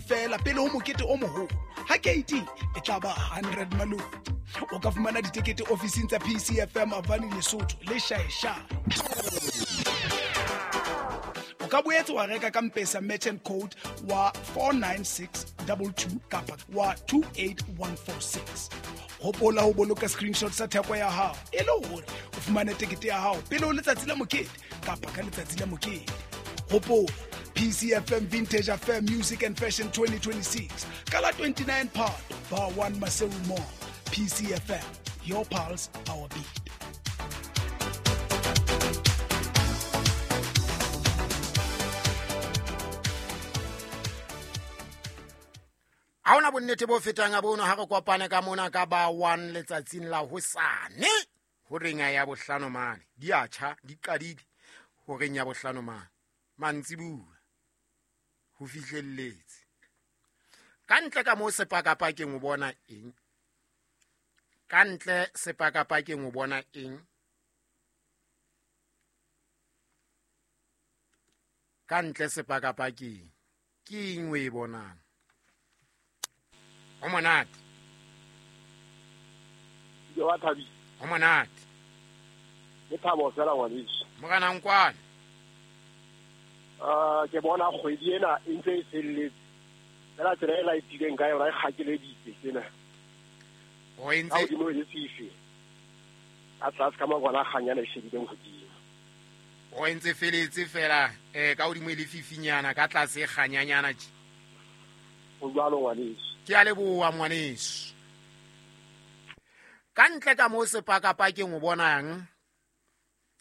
Feela pele ho mokete o moholo ha keiting e tla ba 100 malome. O ka fumana ditekete ofising tsa PCFM Avani Lesotho le Shaeshae. O ka boetse wa reka ka Mpesa merchant code wa 49622 kapa wa 28146. Hopola ho boloka screenshot sa theko ya hao e le hore o fumane tekete ya hao pele ho letsatsi la mokete kapa ka letsatsi la mokete. Hopola PCFM Vintage Affair Music and Fashion 2026 ka la 29 Phato, Bar 1 Maseru Mall. PCFM, your pulse, our beat. Ha hona bonnete bo fetang a bono ha re kopane ka mona ka ba 1 letsatsing la hosane horeng ya bohlano mane. Di a tjha, di qadile horeng ya bohlano mane. Mantsibuya ho fihlelletse. Ka ntle ka moo sepakapakeng o bona eng? Ka ntle sepakapakeng o bona eng? Ka ntle sepakapakeng ke eng o e bonang? Ho monate. Ke wa thabile. Ho monate. Ke thabo fela ngwaneso. Morena Nkwane. Ke bona kgwedi ena e ntse e felletse. Fela tsela e laetileng ka yona e kgakeleditse tsena. O entse Ka hodimo e le fifi. Ka tlase ka mangwana a kganyana e shebileng hodimo. O entse feletse fela, ka hodimo e le fifinyana, ka tlase e kganyanyana tje. Ho jwalo ngwaneso. Ke a leboha ngwaneso. Ka ntle ka moo sepakapakeng o bonang,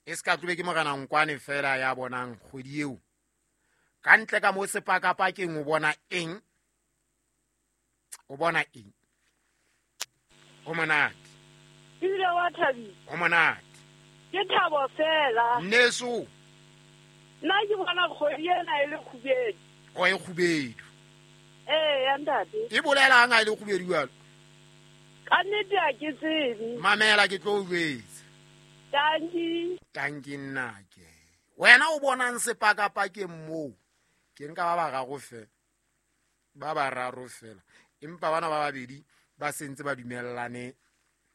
e se ka tlobe ke Morena Nkwane fela ya bonang kgwedi eo. Ka ntle ka moo sepakapakeng o bona eng? O bona eng? Ho monate. Ebile wa thabile. Ho monate. Ke thabo fela. Nneso. Nna ke bona kgwedi ena e le kgubedu. O e kgubedu. Ee, ya ntate. E bolelang ha e le kgubedu jwalo? Ka nnete ha ke tsebe. Mamela ke tlo o jwetsa. Tanki. Tanki nna ke. Wena o bonang sepakapakeng moo? Ke nka ba bararo fela. Ba bararo fela. Empa bana ba babedi ba sentse ba dumellane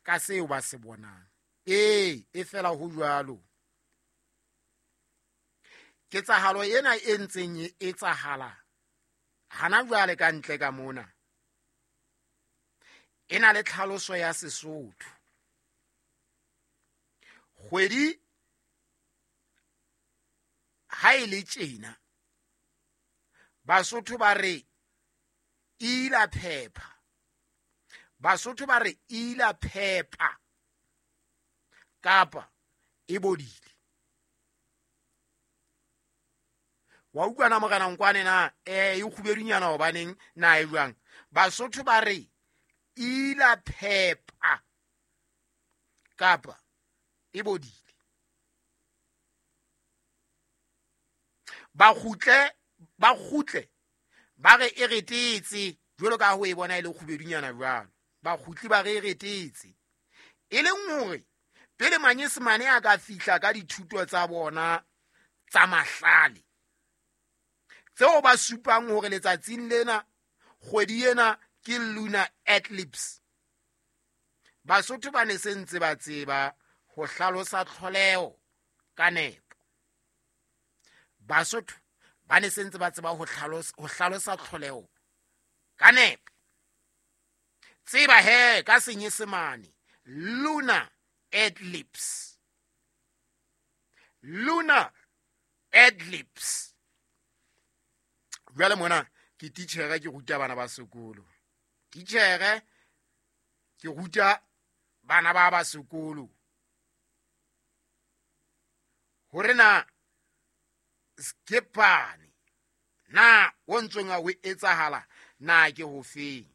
ka seo ba se bonang. Ee, e fela ho jwalo. Ketsahalo ena e ntseng e etsahala hana jwale ka ntle ka mona e na le tlhaloso ya Sesotho. Kgwedi ha e le tjena, Basotho ba re ila phepha. Basotho ba re ila phepha kapa e bodile. Wa utlwa na Morena Nkwane na? E kgubedunyana hobaneng na e jwang? Basotho ba re ila phepha kapa e bodile. Ba kgutle ba re e retetse jwalo ka ho e bona e le kgubedunyana jwalo. Ba kgutli ba re e retetse. E leng hore pele Manyesemane a ka fihla ka dithuto tsa bona tsa mahlale tseo ba supang hore letsatsing lena kgwedi ena ke lunar eclipse, Basotho ba ne se ntse ba tseba ho hlalosa tlholeho ka nepo. Basotho ba ne se ntse ba tseba ho hlalosa tlholeho ka nepo. Tseba he ka Senyesemane lunar eclipse. Lunar eclipse. Jwale mona ke titjhere, ke ruta bana ba sekolo. Titjhere ke ruta bana ba sekolo hore na skepane na o ntsong a ho etsahala na ke ho feng.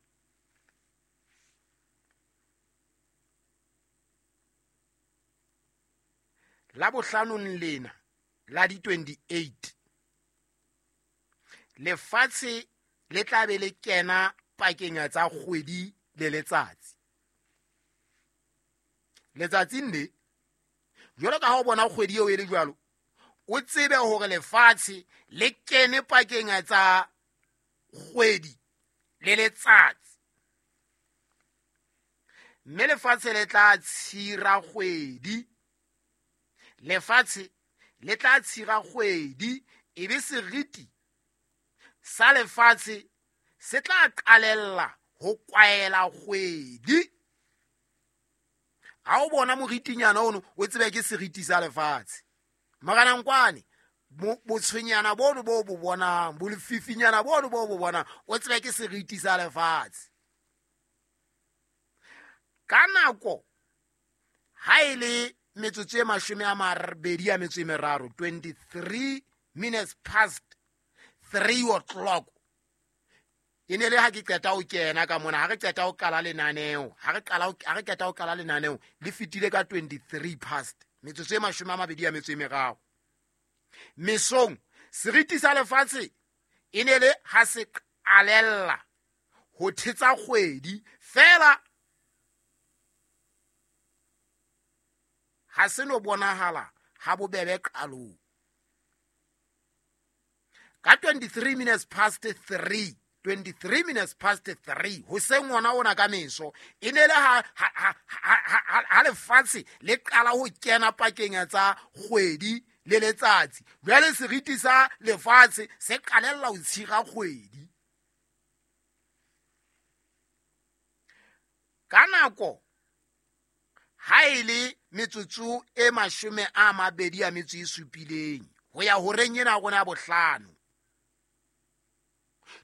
La bohlanong lena la di 28 lefatshe le tla be le kena pakeng tsa kgwedi le letsatsi. Letsatsing le jwalo ka ha o bona kgwedi eo e le jwalo, o tsebe hore lefatshe le kene pakeng tsa kgwedi le letsatsi. Mme lefatshe le tla tshira kgwedi, lefatshe le tla tshira kgwedi, e be seriti sa lefatshe se tla qalella ho kwaela kgwedi. Ha o bona moritinyana ono, o tsebe ke seriti sa lefatshe. Morena Nkwane, botshwenyana bono bo bo bonang, bolefifinyana bono bo bo bonang, o tsebe ke seriti sa lefatshe. Ka nako ha e le metsotso e 23, 23 minutes past 3 o'clock, e ne le ha ke qeta ho kena ka mona, ha re qeta ho qala lenaneo, ha re qeta ho qala lenaneo le fetile ka 23 past, metsotso e 23. Mesong seriti sa lefatshe e ne le ha se qalella ho thetsa kgwedi fela, ha se no bonahala ha bobebe qalong. Ka 23 minutes past 3, 23 minutes past 3, hoseng ona ona ka meso, e ne le ha lefatshe le qala ho kena pakeng tsa kgwedi le letsatsi. Jwale seriti sa lefatshe se qalella ho tshira kgwedi. Ka nako ha e le metsotso e 27 ho ya horeng ena rona bohlano,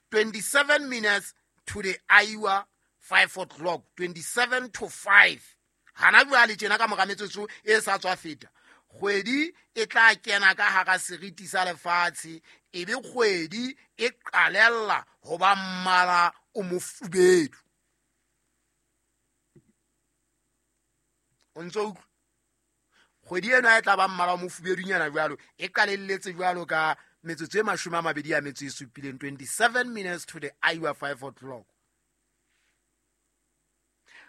27 minutes to the hour 5 o'clock, 27 to 5. Hana jwale tjena ka mora metsotso e sa tswa feta, kgwedi e tla kena ka hara seriti sa lefatshe, e be kgwedi e qalella ho ba mmala o mofubedu. O ntso utlwa? Kgwedi ena e tla ba mmala o mofubedunyana jwalo, e qalelletse jwalo ka metsotso e 27, 27 minutes to the hour 5 o'clock.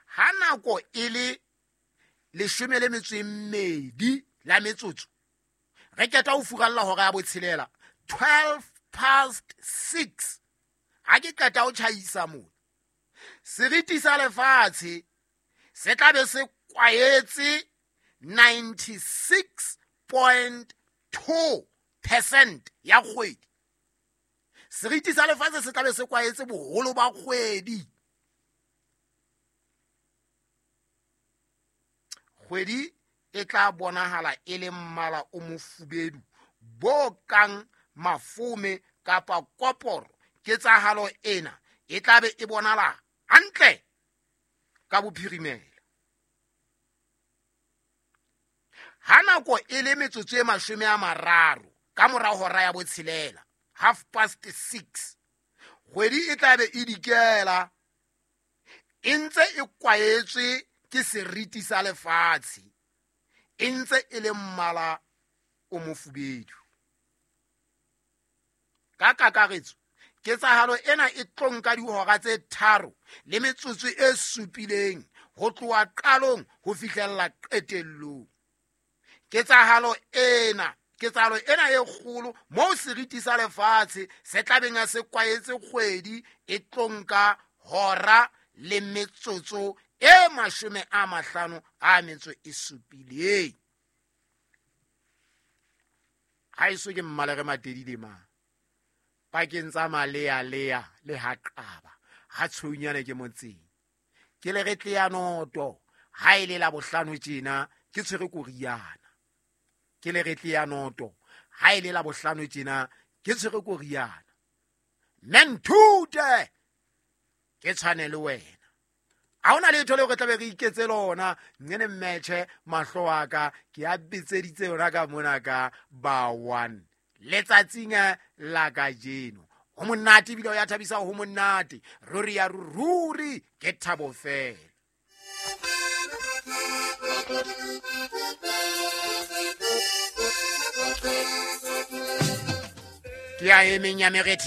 Ha nako e le 12 la metsotso, re keta ho furalla hora ya botshelela, 12 past 6. Ha ke qeta ho tjhaisa mona, seriti sa lefatshe se tla be se kwaetse 96.2% ya kgwedi. Seriti sa lefatshe se tla be se kwaetse boholo ba kgwedi. Kgwedi e tla bonahala e le mmala o mofubedu bo kang mafome kapa koporo. Ketsahalo ena e tla be e bonala hantle ka bophirimela. Ha nako e le metsotso e 30 ka mora hora ya botshelela, 6:30, kgwedi e tla be e dikela e ntse e kwaetswe ke seriti sa lefatshe, e ntse e le mmala o mofubedu. Ka kakaretso, ketsahalo ena e tlo nka dihora tse 3 le metsotso e 7 ho tloha qalong ho fihlella qetellong. Ketsahalo ena e kgolo moo seriti sa lefatshe se tla beng se kwaetse kgwedi e tlo nka hora le metsotso e 57. Ha eso ke mmalere matedile ma pakeng tsa malea-lea le ha qaba ha tshweunyana ke motseng, ke le re tle ya noto ha e le la bohlano tjena ke tshwere koriana. Ke le re tle ya noto ha e le la bohlano tjena ke tshwere koriana. Mme nthute ke tshwane le wena. Ha hona letho leo re tla be re iketse lona, nne mmetjhe mahlo a ka ke a bitseditse yona ka mona ka ba 1 letsatsing la kajeno. Ho monate ebile o ya thabisa, ho monate ruri ya ruri, ke thabo fela. Ke a emeng ya merethe.